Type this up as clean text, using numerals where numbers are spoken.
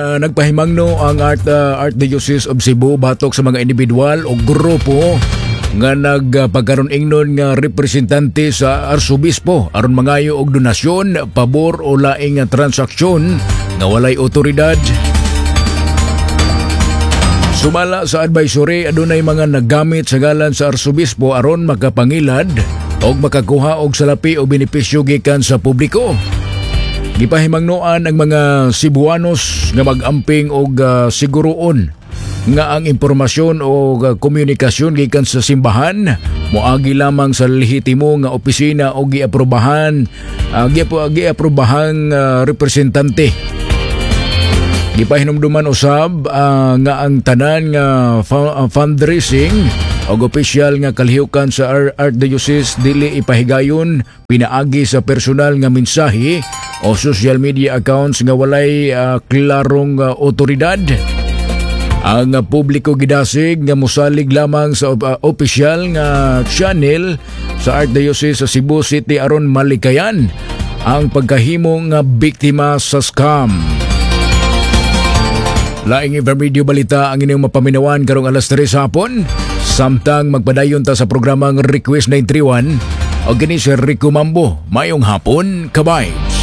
Nagpahimangno ang Archdiocese of Cebu batok sa mga individual o grupo nga nagpagkaron ingnon nga representante sa arsobispo aron mangayo og donasyon, pabor o laing nga transaksyon nga walay otoridad. Sumala sa advisory, adunay mga naggamit sa ngalan sa arsobispo aron makapangilad og makakuha og salapi o benepisyo gikan sa publiko. Gipahimangnoan ang mga Cebuanos nga mag-amping og siguroon nga ang impormasyon o komunikasyon gikan sa simbahan moagi lamang sa lehitimo nga opisina o giaprobahan representante. Gipahinumduman usab nga ang tanan nga fundraising og opisyal nga kalihukan sa Archdiocese dili ipahigayon pinaagi sa personal nga mensahe o social media accounts nga walay klarong otoridad. Ang publiko gidasig nga mosalig lamang sa opisyal nga channel sa Archdiocese sa Cebu City aron malikayan ang pagkahimo nga biktima sa scam. Laing Radio Balita ang inyong mapaminawan karong alas 3 sa hapon. Samtang magpadayon ta sa programang Request 931 o kini si Rico Mambo. Mayong hapon, ka-vibes.